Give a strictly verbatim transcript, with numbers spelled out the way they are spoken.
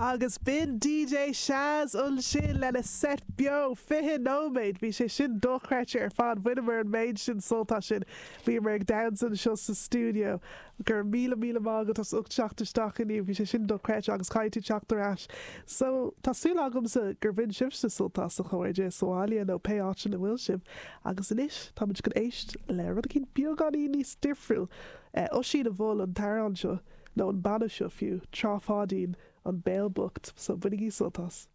Agus b'in DJ Shaz ansin lena set beo fiche nóiméad, bhí sé sin dochreidte ar fad, bhaineamar an méid sin sult as sin, bhíomar ag damhsa anseo sa stiúideo. Go raibh míle míle maith agat as ucht teacht isteach inniu, bhí sé sin dochreidte agus caithfidh tú teacht ar ais. So, tá súil agamsa gur bhain sibhse sult as a chairde sa bhaile nó pé áit ina bhfuil sibh. Agus anois táimid chun éist le rud éicint beagáinín níos difriúil. Oisín a mhol an t-amhrán seo, nó an banna seo fiú, Trá Pháidín, An Béal Bocht, so bainigí sult as.